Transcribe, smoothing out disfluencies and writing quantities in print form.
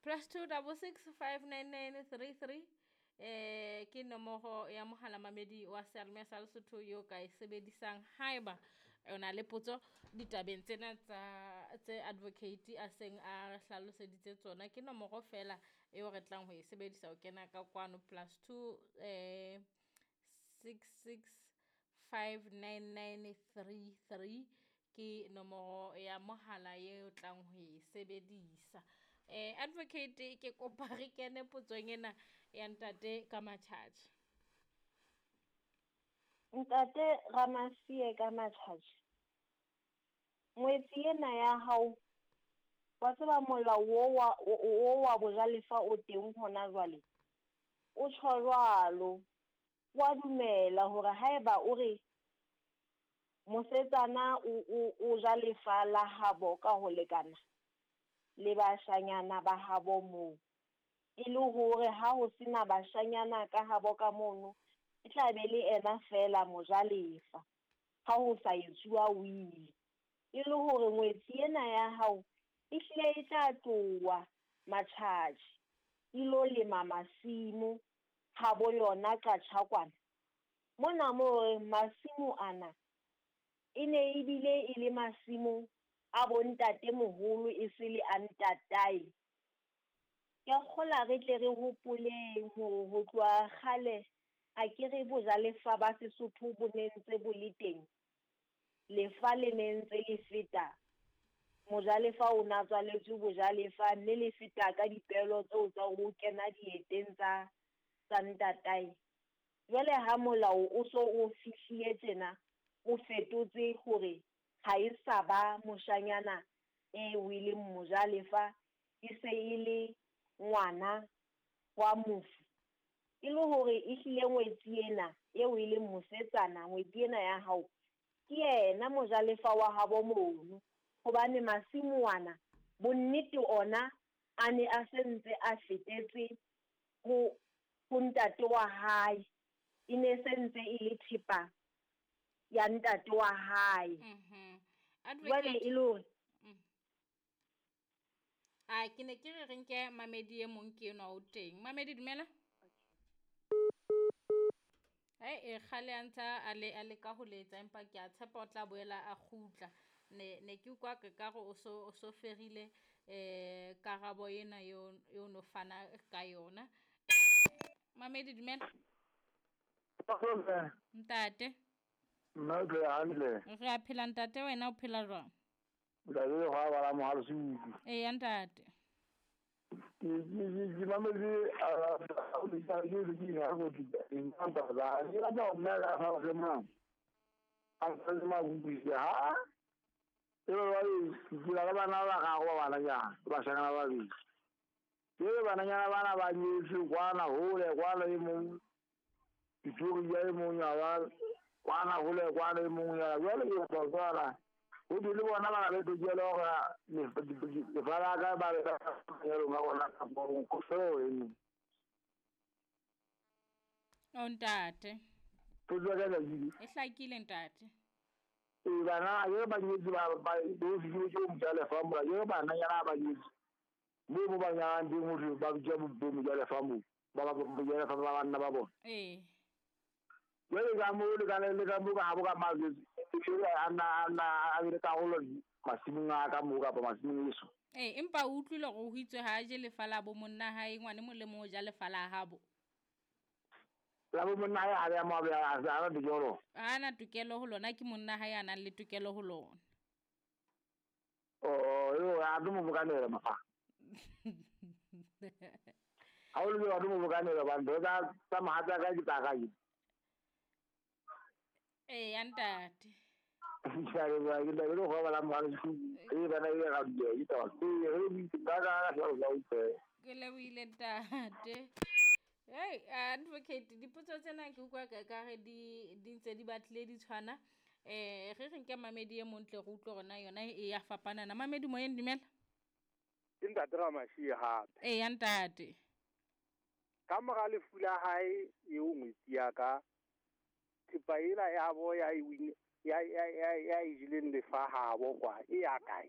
Plus 2 6 6 5 9 9 3 3 ke nomoro ya mohala mamedi wa seyalemoya sa Lesotho yo ka e sebedisang haeba o na le potso ditabeng tsena tsa tse advocate a seng a re hlaloseditse tsona. Ke nomoro fela eo re tlang ho e sebedisa ho kena ka kwano, +2 6 6 5 9 9 3 3 ke nomoro ya mohala eo tlang ho e sebedisa. Advocate, ke kopa re kene potsong ena ya ntate ka Matjhatjhe. Ntate Ramasie ka Matjhatjhe, ngwetsi ena ya hao, wa tseba molao o wa bojalefa o teng hona jwale, o tjho jwalo, wa dumela hore haeba o re mosetsana o ja lefa la habo ka ho lekana le bashanyana ba habo moo, e le hore ha ho sena bashanyana ka habo ka mono, e tla be le ena fela mojalefa ha ho sa etsuwa wili. E le hore ngwetsi ena ya hao e hlile e tla tloha Matjhatjhe e lo lema masimo habo yona Qatjha kwana. Mona moo re masimo ana e ne ebile e le masimo a bontate moholo e se le a ntatae. Ke a kgola re tle re hopoleng hore ho tloha kgale a ke re bojalefa ba Sesotho bo ne ntse bo le teng. Lefa le ne ntse le feta, mojalefa o na tswaletswe bojalefa mme le feta ka dipelo tseo tsa ho kena dieteng tsa ntatae. Jwale ha molao o so o fihlile tjena, o fetotse hore ha e sa ba moshanyana eo e leng mojalefa, e se e le ngwana wa mofu. E le hore ehlile ngwetsi ena eo e leng mosetsana, ngwetsi ena ya hao, ke yena mojalefa wa habo mono. Hobane masimo ana bonnete ona a ne a se ntse a fetetse ho ntate wa hae, e ne se ntse e le thepa ya ntate wa hae. Jwale e le hore a ke ne ke re re nke mamedi e mong ke enwa o teng. Mamedi, dumela. E kgale a ntsa a le ka ho letsa, empa ke a tshepa o tla boela a kgutla. Ne ke ukwa ke ka re o so ferile karabo ena eo no fana ka yona. Mamedi, dumela. Ntate. Nna ke hantle. Re a phela ntate, wena o phela jwang? Ntate le hwa bala mohalo se. Eya ntate. Ke mametse a ke ke ha go di nka ba ke rata ho nna ka fa se mang. A se ma go ha. E ba ke la bana ba ga go bana ya ba shangana ba bi. Ke bana nyana bana ba nyetse kwana hole kwana e mong. Dituri ya e mong ya ba kwana hole kwana e mong ya jwale ke ba tswala. O di le bona ba le tokelo hore lefa la ka ba le ya rona gona ka bo ko so e. O ntate. Potso ya ka e E hlakile ntate. E bana ye ba nyetse ba do fi ke o mojalefa mo ye bana nyana ba nyetse. Mo bo ba nyana teng hore ba bitsa bo mojalefa mo ba ba mojalefa ba banna ba bona. Ee. Jwale ka mo le ka le ka mo ka ha bo ka mazwe ana a le karolo masimong a ka mo kapa masimong eso. Ee, empa o utlwile hore ho itswe ha je lefa la bo monna hae, ngwane mo le mo ja lefa la habo. La bo monna hae ha ya mo a a tokelo. Ha na tokelo ho lona, ke monna hae a nang le tokelo ho lona. Oh, yo a tlo mo bokanela mafa. Ha o le wa tlo mo bokanela ba ntho tsa mohatsa ka ke tsa ka ke. Ee, ntate. Ke a leboha, ke thabile ho bala mohale e bana e ga ke taba. Ke re ba ka ka sa o Ke lebohile ntate. Hey, advocate, dipotso tsena ke utlwa ka re di ntse di batlile di tshwana. Re re nke mamedi e mong tle re utlwe hore na yona e ya fapana na. Mamedi moyeng, dumela. Ke ntate Ramashie hape. Eya ntate. Ka mora lefu la hae eo ngwetsi ya ka, thepa ela ya bo ya e win ya ya ya ya e jileng lefa habo kwa e ya kae?